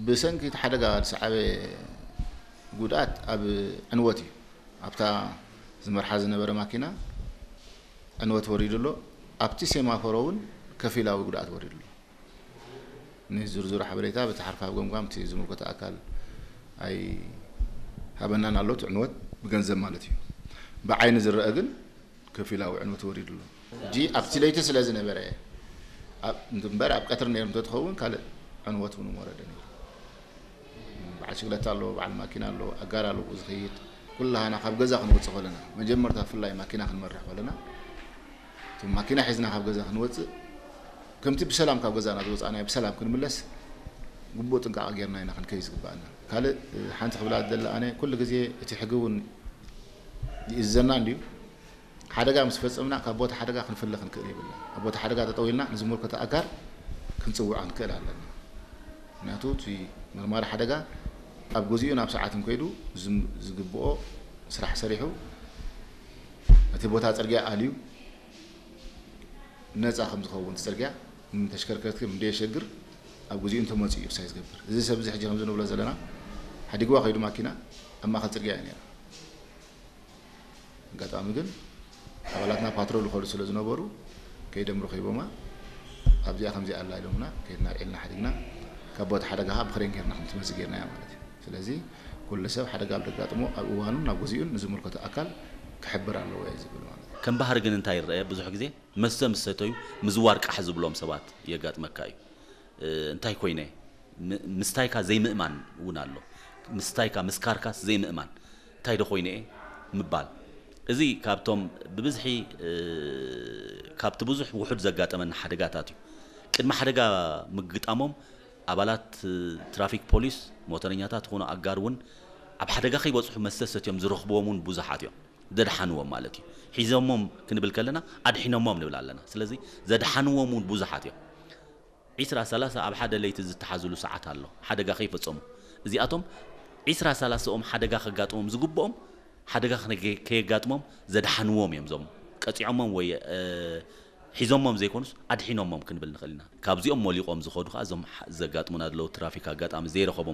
ብሰንኪ እቲ ሓደጋ ዝሰዓበ ጉድኣት ኣብ ዕንወት እዩ። ኣብታ ዝመርሓ ዝነበረ ማኪና ዕንወት ወሪዱ ኣሎ። ኣብቲ ሴማፎሮ እውን ከፊላዊ ጉድኣት ወሪዱ ኣሎ። ንዝርዝሩ ሓበሬታ በቲ ሓርፋፍ ገምጋም እቲ ዝምልከቶ ኣካል ኣይሃበናን ኣሎ፣ እቲ ዕንወት ብገንዘብ ማለት እዩ። ብዓይኒ ዝረአ ግን ከፊላዊ ዕንወት ወሪዱ ኣሎ። ሕጂ ኣብቲ ለይቲ ስለ ዝነበረ፣ ኣብ፣ እምበር ኣብ ቀትሪ ነይሩ እንተትኸውን ካልእ ዕንወት እውን ወረደ ነይሩ። በዓል ሽግለታ ኣሎ፣ በዓል ማኪና ኣሎ፣ ኣጋር ኣሎ ዝኸይድ። ኩላህና ካብ ገዛ ክንወፅእ ከለና፣ መጀመርታ ብፍላይ ማኪና ክንመርሕ ከለና፣ እቶም ማኪና ሒዝና ካብ ገዛ ክንወፅእ፣ ከምቲ ብሰላም ካብ ገዛና ዝወፃእናዮ ብሰላም ክንምለስ ግቡእ ጥንቃቐ ጌርና ኢና ክንከይድ ዝግባኣና። ካልእ ሓንቲ ክብላ ዝደሊ ኣነ፣ ኩሉ ግዜ እቲ ሕጊ እውን ይእዘና እንድዩ። ሓደጋ ምስ ፈጸምና ካብ ቦታ ሓደጋ ክንፍለ ክንክእል የብልና። ኣብ ቦታ ሓደጋ ጠጠው ኢልና ንዝምልከቶ ኣካል ክንጽውዖ ክንክእል ኣለና። ምክንያቱ እቲ መርማሪ ሓደጋ ኣብ ግዚኡ ናብ ሰዓትን ከይዱ ዝም-፣ ዝግብኦ ስራሕ ሰሪሑ፣ እቲ ቦታ ጽርግያ ኣልዩ ነጻ ከም ዝኸውን፣ እቲ ጽርግያ ንተሽከርከርቲ ከም እንደየሸግር ኣብ ግዚኡ እንተመጽኡ እዩ ክሳይ ዝገብር። እዚ ሰብ እዚ ሕጂ ከምዚ ንብሎ ዘለና ሓዲግዋ ከይዱ ማኪና ኣብ ማእከል ጽርግያ እዩ ነይራ። ኣጋጣሚ ግን ኣባላትና ፓትሮል ይኸዱ ስለ ዝነበሩ ከይዶም ረኺቦማ። ኣብዚኣ ከምዚኣ ኣላ ኢሎምና፣ ከይድና ኣልዒልና ሓዲግና፣ ካብ ቦታ ሓደጋ ከዓ ብክሬን ጌርና ከም ትመጽእ ጌርናያ ማለት እዩ። ስለዚ ኩሉ ሰብ ሓደጋ ኣብ ዘጋጥሞ ኣብ እዋኑን ናብ ግዚኡን ንዝምልከቶ ኣካል ክሕብር ኣለዎ እየ ዝብል ማለት እዩ። ከም ባህሪ ግን እንታይ ይረአ? ብዙሕ ግዜ መስተ ምስ ሰተዩ ምዝዋር ቃሕ ዝብሎም ሰባት የጋጥመካ እዩ። እ፣ እንታይ ኮይነ? ም-፣ ምስታይካ ዘይምእማን እውን ኣሎ። ምስታይካ፣ ምስካርካስ ዘይምእማን። እንታይ ዶ ኮይነ እየ ምባል። እዚ ካብቶም ብብዝሒ፣ እ፣ ካብቲ ብዙሕ ውሑድ ዘጋጠመና ሓደጋታት እዩ። ቅድሚ ሓደጋ ምግጣሞም ኣባላት፣ እ፣ ትራፊክ ፖሊስ፣ ሞተረኛታት ይኹኑ ኣጋር እውን ኣብ ሓደጋ ከይበጽሑ መስተ ሰትዮም ዝረኽብዎም እውን ብዙሓት እዮም። ዘድሓንዎም ማለት እዩ። ሒዞሞም ክንብል ከለና ኣድሒኖሞም ንብል ኣለና። ስለዚ ዘድሓንዎም እውን ብዙሓት እዮም። ዒስራ ሰላሳ ኣብ ሓደ ለይቲ ዝተሓዝሉ ሰዓት ኣሎ፣ ሓደጋ ከይፈጸሙ። እዚኣቶም ዒስራ ሰላሳኦም ሓደጋ ከጋጥሞም ዝግብኦም ሓደጋ ከነገ-፣ ከየጋጥሞም ዘድሓንዎም እዮም። እዞም ቀጺዖሞም ወይ፣ እ፣ ሒዞሞም ዘይኮኑስ ኣድሒኖሞም ክንብል ንኽእል ኢና። ካብዚኦም ሞሊቖም ዝኸዱ ከኣ እዞም ሓ-፣ ዘጋጥሙና ዘለዉ ትራፊክ ኣጋጣሚ ዘይረኸቦም